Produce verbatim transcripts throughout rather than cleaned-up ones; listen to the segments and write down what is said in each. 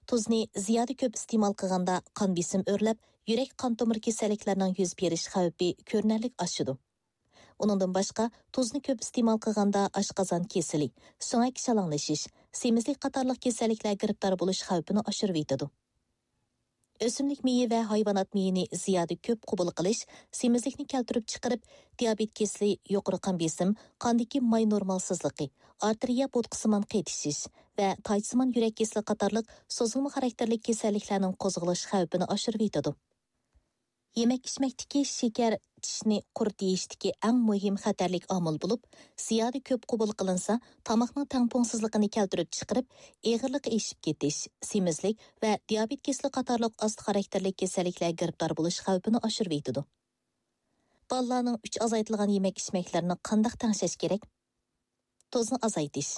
تۇزنى زىيادە كۆپ ئىستېمال قىلغاندا قان بېسىم ئۆرلەپ، يۈرەك قان تومۇر كېسەللىكلىرىنىڭ يۈز بېرىش خەۋپى كۆرۈنەرلىك ئاشىدۇ. ئۇنىڭدىن باشقا، تۇزنى كۆپ ئىستېمال قىلغاندا ئاشقازان كېسىلى، سۆڭەك شالاڭلىشىش، سېمىزلىك قاتارلىق كېسەللىكلەر گىرىپتار بولۇش خەۋپىنى ئاشۇرۇۋېتىدۇ. ئۆسۈملۈك مېيى ۋە ھايۋانات مېيىنى زىيادە كۆپ قوبۇل قىلىش سېمىزلىكنى كەلتۈرۈپ چىقىرىپ، دىيابېت كېسىلى، يۇقىرى قان بېسىم، قاندىكى ماي نورمالسىزلىقى، ئارتېرىيە بوتقىسىمان قېتىشىش ۋە تايچىسىمان يۈرەك كېسىلى قاتارلىق سوزۇلما خاراكتېرلىك كېسەللىكلەرنىڭ قوزغىلىش خەۋپىنى ئاشۇرۇۋېتىدۇ. يېمەك-ئىچمەكتىكى شېكەر چىشنى قۇرت يېيىشتىكى ئەڭ مۇھىم خەتەرلىك ئامىل بولۇپ، زىيادە كۆپ قوبۇل قىلىنسا، تاماقنىڭ تەڭپۇڭسىزلىقىنى كەلتۈرۈپ چىقىرىپ، ئېغىرلىقى ئېشىپ كېتىش، سېمىزلىك ۋە دىيابېت كېسىلى قاتارلىق ئاستا خاراكتېرلىك كېسەللىكلەرگە گىرىپتار بولۇش خەۋپىنى ئاشۇرۇۋېتىدۇ. بالىلارنىڭ ئۈچ ئازايتىلغان يېمەك-ئىچمەكلىرىنى قانداق تەڭشەش كېرەك؟ تۇزنى ئازايتىش.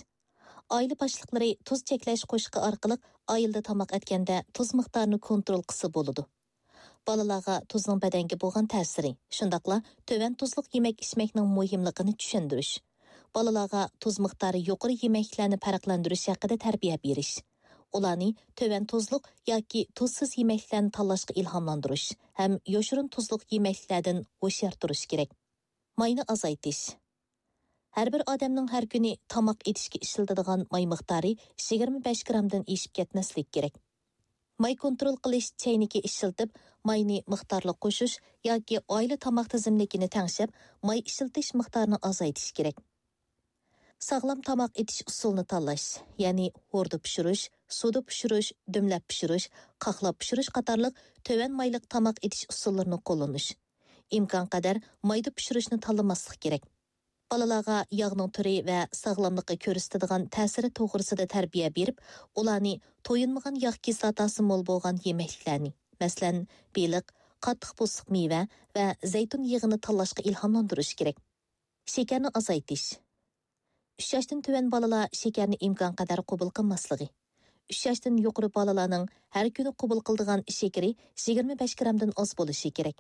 ئائىلە باشلىقلىرى تۇز چەكلەش قوشۇقى ئارقىلىق ئائىلىدە تاماق ئەتكەندە تۇز مىقدارىنى كونترول قىلسا بولىدۇ. بالىلارغا تۇزنىڭ بەدەنگە بولغان تەسىرى، شۇنداقلا تۆۋەن تۇزلۇق يېمەك-ئىچمەكنىڭ مۇھىملىقىنى چۈشەندۈرۈش. بالىلارغا تۇز مىقدارى يۇقىرى يېمەكلىكلەرنى پەرقلەندۈرۈش ھەققىدە تەربىيە بېرىش. ئۇلارنى تۆۋەن تۇزلۇق ياكى تۇزسىز يېمەكلىكلەرنى تاللاشقا ئىلھاملاندۇرۇش ھەم يوشۇرۇن تۇزلۇق يېمەكلىكلەردىن ھوشيار تۇرۇش كېرەك. ماينى ئازايتىش. ھەر بىر ئادەمنىڭ ھەر كۈنى تاماق ئېتىشكە ئىشلىتىدىغان ماي مىقدارى يىگىرمە بەش گرامدىن ئېشىپ كەتمەسلىكى كېرەك. ماي كونترول قىلىش چەينىكى ئىشلىتىپ، ماينى مىقدارلىق قوشۇش ياكى ئائىلە تاماق تىزىملىكىنى تەڭشەپ، ماي ئىشلىتىش مىقدارىنى ئازايتىش كېرەك. ساغلام تاماق ئېتىش ئۇسۇلىنى تاللاش، يەنى ھوردا پىشۇرۇش، سۇدا پىشۇرۇش، دۈملەپ پىشۇرۇش، قاقلاپ پىشۇرۇش قاتارلىق تۆۋەن مايلىق تاماق ئېتىش ئۇسۇللىرىنى قوللىنىش. ئىمكانقەدەر مايدا پىشۇرۇشنى تاللىماسلىق كېرەك. بالىلارغا ياغنىڭ تۈرى ۋە ساغلاملىققا كۆرسىتىدىغان تەسىرى توغرىسىدا تەربىيە بېرىپ، ئۇلارنى تويۇنمىغان ياغ كىسلاتاسى مول بولغان يېمەكلىكلەرنى، مەسىلەن، بېلىق، قاتتىق پوستلۇق مېۋە ۋە زەيتۇن يېغىنى تاللاشقا ئىلھاملاندۇرۇش كېرەك. شېكەرنى ئازايتىش. ئۈچ ياشتىن تۆۋەن بالىلار شېكەرنى ئىمكانقەدەر قوبۇل قىلماسلىقى. ئۈچ ياشتىن يۇقىرى بالىلارنىڭ ھەر كۈنى قوبۇل قىلىدىغان شېكىرى يىگىرمە بەش گرامدىن ئاز بولۇشى كېرەك.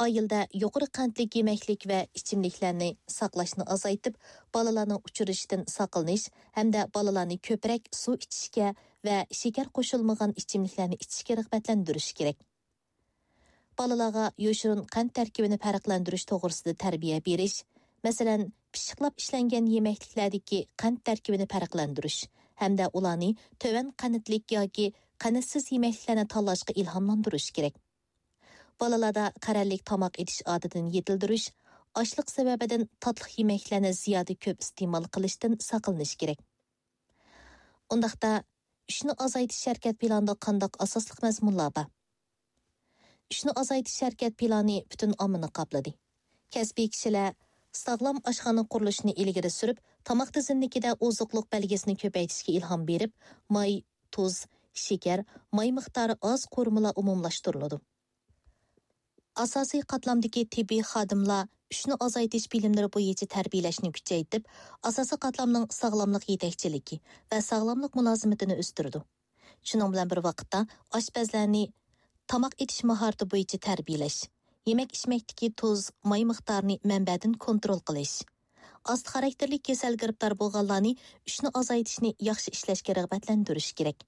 ئائىلىدە يۇقىرى قەنتلىك يېمەكلىك ۋە ئىچىملىكلەرنى ساقلاشنى ئازايتىپ، بالىلارنىڭ ئۇچرىشىشتىن ساقلىنىش ھەمدە بالىلارنى كۆپرەك سۇ ئىچىشكە ۋە شېكەر قوشۇلمىغان ئىچىملىكلەرنى ئىچىشكە رىغبەتلەندۈرۈش كېرەك. بالىلارغا يوشۇرۇن قەنت تەركىبىنى پەرقلەندۈرۈش توغرىسىدا تەربىيە بېرىش، مەسىلەن، پىششىقلاپ ئىشلەنگەن يېمەكلىكلەردىكى قەنت تەركىبىنى پەرقلەندۈرۈش ھەمدە ئۇلارنى تۆۋەن قەنتلىك ياكى قەنتسىز يېمەكلىكلەرنى تاللاشقا ئىلھاملاندۇرۇش كېرەك. بالىلاردا قەرەللىك تاماق ئېتىش ئادىتىنى يېتىلدۈرۈش، ئاچلىق سەۋەبىدىن تاتلىق يېمەكلەرنى زىيادە كۆپ ئىستېمال قىلىشتىن ساقلىنىش كېرەك. ئۇنداقتا، ئۈچنى ئازايتىش ھەرىكەت پىلانىدا قانداق ئاساسلىق مەزمۇنلار بار؟ ئۈچنى ئازايتىش ھەرىكەت پىلانى پۈتۈن ئاممىنى قاپلىدى. كەسپىي كىشىلەر ساغلام ئاشخانا قۇرۇلۇشىنى ئىلگىرى سۈرۈپ، تاماق تىزىملىكىدە ئوزۇقلۇق بەلگىسىنى كۆپەيتىشكە ئىلھام بېرىپ، ماي، تۇز، شېكەر، ماي مىقدارى ئاز قورۇمىلار ئومۇملاشتۇرۇلىدۇ. ئاساسىي قاتلامدىكى تېببىي خادىملار ئۈچنى ئازايتىش بىلىملىرى بويىچە تەربىيەلەشنى كۈچەيتىپ، ئاساسىي قاتلامنىڭ ساغلاملىق يېتەكچىلىكى ۋە ساغلاملىق مۇلازىمىتىنى ئۆستۈرىدۇ. شۇنىڭ بىلەن بىر ۋاقىتتا، ئاشپەزلەرنى تاماق ئېتىش ماھارىتى بويىچە تەربىيەلەش، يېمەك-ئىچمەكتىكى تۇز، ماي مىقدارىنى مەنبەدىن كونترول قىلىش، ئاستا خاراكتېرلىك كېسەلگە گىرىپتار بولغانلارنى ئۈچنى ئازايتىشنى ياخشى ئىشلەشكە رىغبەتلەندۈرۈش كېرەك.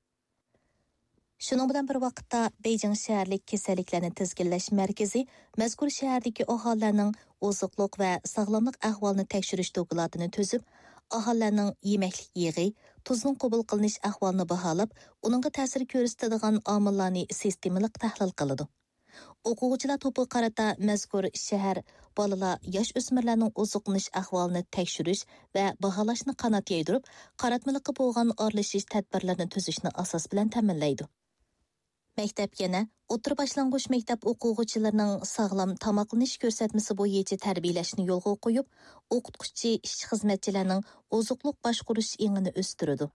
شۇنىڭ بىلەن بىر ۋاقىتتا، بېيجىڭ شەھەرلىك كېسەللىكلەرنى تىزگىنلەش مەركىزى مەزكۇر شەھەردىكى ئاھالىلەرنىڭ ئوزۇقلۇق ۋە ساغلاملىق ئەھۋالىنى تەكشۈرۈش دوكلاتىنى تۈزۈپ، ئاھالىلەرنىڭ يېمەكلىك يېغى، تۇزنىڭ قوبۇل قىلىنىش ئەھۋالىنى باھالاپ، ئۇنىڭغا تەسىر كۆرسىتىدىغان ئامىللارنى سىستېمىلىق تەھلىل قىلىدۇ. ئوقۇغۇچىلار توپىغا قارىتا مەزكۇر شەھەر بالىلار، ياش ئۆسمۈرلەرنىڭ ئوزۇقلىنىش ئەھۋالىنى تەكشۈرۈش ۋە باھالاشنى قانات يايدۇرۇپ، قاراتمىلىققا بولغان ئارىلىشىش تەدبىرلىرىنى تۈزۈشنى ئاساس بىلەن تەمىنلەيدۇ. مەكتەپ يەنە ئوتتۇرا باشلانغۇچ مەكتەپ ئوقۇغۇچىلىرىنىڭ ساغلام تاماقلىنىش كۆرسەتمىسى بويىچە تەربىيەلەشنى يولغا قويۇپ، ئوقۇتقۇچى، ئىشچى-خىزمەتچىلەرنىڭ ئوزۇقلۇق باشقۇرۇش ئېڭىنى ئۆستۈرىدۇ.